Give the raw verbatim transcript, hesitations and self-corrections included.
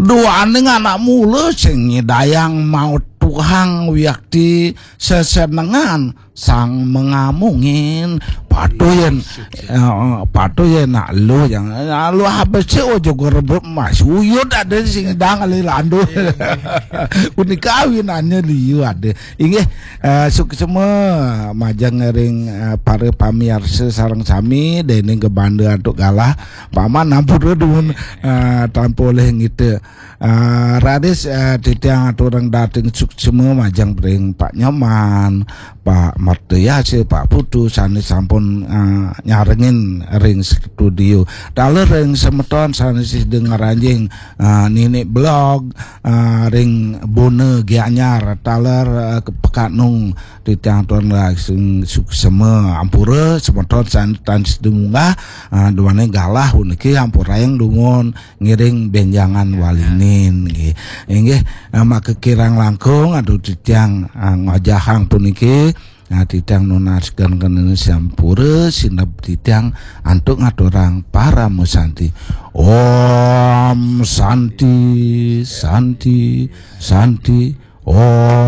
Duaning anak mula sing nyidayang maut tuhang wiakti sesenengan sang mengamungin. Patuh yén, eh, patuh yén nak lu yang, eh, lu habis sih, oh, jogo rebut mas. Uyut ada sing dang ali landu. Punika awinannya liu ada. Inggih, eh, suksma majeng ring, eh, para pamiarsa sareng sami, dening kebanda antuk galah. Paman ampura dumun, eh, tanpa oleh ngita. Ah, raris, ah, titiang aturang dating suksma majeng ring Pak Nyoman, Pak Martayasa, Pak Putu, sane sampun, ah, nyarengin ring studio. Taler ring semeton sane sida ngranjing, ah, nini blog, ah, ring Bona Gianyar, taler, ah, ke Pekanung, titiang aturang dating suksma ampura semeton sane tan sida munggah, ah, duane galah puniki ampurayang dumun ngiring benjangan walinin nggih. Inggih, eh, maka kirang langkung aduh titiang, eh, ngajahang puniki, eh, titiang nunas geng kenene sampura sineb titiang antuk ngaturang parama santi. Om Santi, Santi, Santi. Om